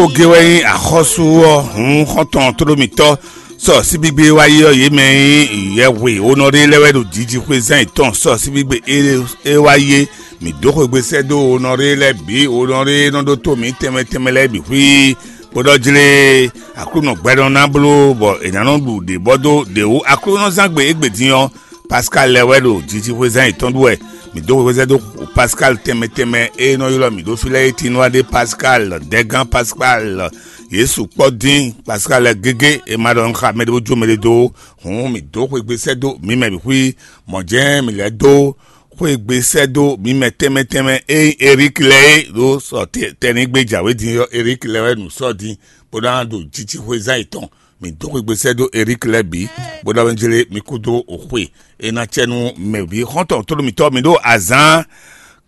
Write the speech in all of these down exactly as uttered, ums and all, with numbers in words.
Oge wɛ nyí axɔ́sú ɔ́, hǔn xɔ́ntɔn tóɖómítɔ́ sɔ síbígbe wá yi ɔ́, yě mɛ nyí yɛhwe onɔɖé lɛ́ɛ wɛ ɖo jijixwé zán yětɔn sɔ síbígbe é wá yi é. Mǐ dó xwegbe sɛ́ dó onɔɖé lɛ́ɛ bǐ, onɔɖé nɔ ɖótó mǐ tɛnmɛ tɛnmɛ lɛ́ɛ bǐ xwí, bó ɖɔ jlé Aklúnɔ gbɛɖɔ ná bló bɔ è nǎ nɔ ɖu ɖě bɔ dó ɖě wú Aklúnɔzángbe égbé din ɔ́. Pascal lɛ́ɛ wɛ ɖo jijixwé zán yětɔn ɖu wɛ. Mǐ dó xwezɛ́ dó Pascal tɛnmɛ tɛnmɛ e nɔ ylɔ́ mǐ ɖó fí lɛ́ɛ é, Tinúadé Pascal, Dɛgán Pascal, Yesu kpɔ́ dín Pascal lɛ́ɛ gégé e ma ɖɔ un xa mɛɖé bó jó mɛɖé dó ó. Hǔn mǐ dó xwegbe sɛ́ dó mǐ mɛ bǐ xwí. Mɔ̌ jɛ́n mǐ lɛ́ dó xwegbe sɛ́ dó mǐ mɛ tɛnmɛ tɛnmɛ e nyí Erík lɛ́ɛ é ɖó sɔ tɛnigbe jǎwe din ɔ́, Erík lɛ́ɛ wɛ nǔ sɔ́ din bó ná ɖo jijixwé zán yětɔn. Mǐ dó xwegbe sɛ́ dó Erík lɛ́ɛ bǐ, bó ɖɔ wɛ jlé mi kúdó xwe e ná cɛ nú mɛ bǐ. Xɔ́ntɔn tónú mǐtɔn, mǐ ɖo azǎn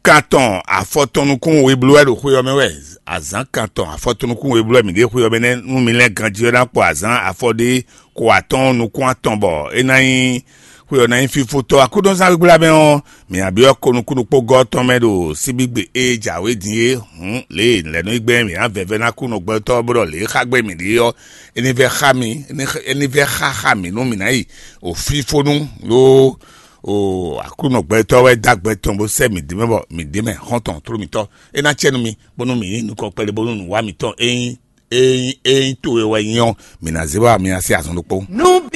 kan tɔn afɔtɔn nukún we bló wɛ ɖo xwe ɔ́ mɛ wɛ. Azǎn kan tɔn afɔtɔn nukún we bló wɛ mǐ ɖe xwe ɔ́ mɛ nɛ́ nú mi lɛ́ɛ ganjí ɔ́ ná kpɔ azǎn afɔ ɖé ko atɔ́ɔ́n nukún atɔn bɔ é ná nyí xwe ɔ́ ná nyí fífótɔ́. Akúdɔ́zán gbígbla mɛ ɔ́, mǐ nǎ byɔ́ ko nukúnnukpógɔ́ tɔn mɛ ɖo síbígbe e jǎwe din é. Hǔn lě e lɛ̌ nɔ yi gbɛ́ mǐ ná vɛvɛ́ ná kú nɔgbɛ́tɔ́ bó ɖɔ lě e xa gbɛ́ mǐ ɖe ɔ́, é ní vɛ́ xá mì, é ní vɛ́ xá xá mǐ nú mǐ ná yi o fífónú ɖó o Aklúnɔ gbɛtɔ́ wɛ dó agbɛ tɔn bó sɛ́ mǐ dó mɛ bɔ mǐ dó mɛ xɔ́ntɔn tló mǐtɔn. É ná cɛ nú mi bónú mǐ nyí nukɔn kpɛɖé bónú nǔwá mǐtɔn é nyí é nyí é nyí towe wɛ nyí ɔ́, mǐ ná zé wá mi ná sí azɔn ɖokpó. Nú